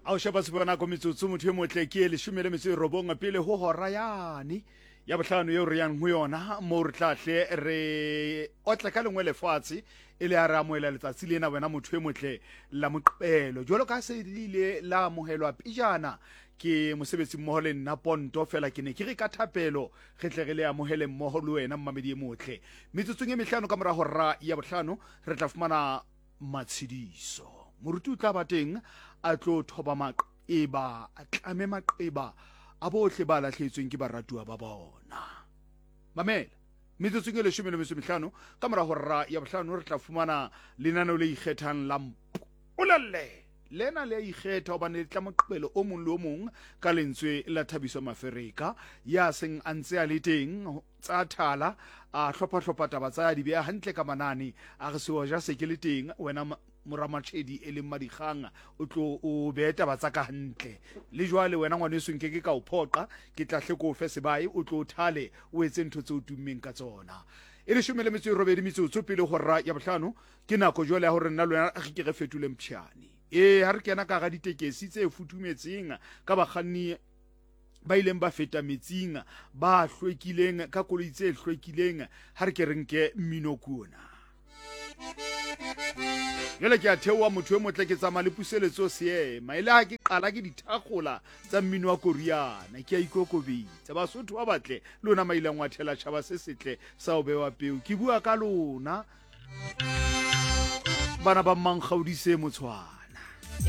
A o sheba sepa nako metsotso motho e motle ke e 19 pele ho hora yane ya bohlano eo re yang ho yona moo re tla hle re otle ka lengwe lefatshe e le a re amohela letsatsi lena wena motho e motle la moqebelo jwalo ka se le ile la amohelwa pejana ke mosebetsi mmoho le nna ponto fela ke ne ke re ka thapelo re tle re le amohele mmoho le wena mmamedi e motle metsotsong e mehlano ka mora hora ya bohlano re tla fumana Matshediso. Moruti o tla ba teng a tlo thoba maqeba, a tlame maqeba a bohle ba lahlehetsweng ke baratuwa ba bona. Mamela, metsotsong e 15 ka mora hora ya bohlano re tla fumana lenaneo le ikgethang la Mpolelle. Lena le a ikgetha hobane le tla moqebelo o mong le o mong ka lentswe la Thabiso Mafereka ya seng a ntse a le teng tsa thala a hlopha-hlopha taba tsa ya di beha hantle ka manane a re seoja se ke le teng wena mora Matšhedi e leng Madikgang o tlo o behe taba tsa ka hantle le jwale wena ngwaneso nke ke ka o phoqa ke tla hle ko o fe sebae o tlo o thale o etse ntho tse o tummeng ka tsona e 18 metsotso pele hora ya bohlano ke nako jwale ya gore nna le wena re ke re fetole mpšhane ee ha re kena ka ga ditekesi tse futhumetseng ka bakganni ba ileng ba feta metsing ba hlwekileng ka koloi tse hlwekileng ha re ke re nke mmino kuona jale ke a theoa motho e motle ke tsamaya le puseletso seema e le ha ke qala ke dithakgola tsa mmino wa koriana ke a ikokobetsa basotho ba batle lona mailang wa thela tšhaba se setle sa o bewa peo ke bua ka lona bana ba mmankgaodise motshwana.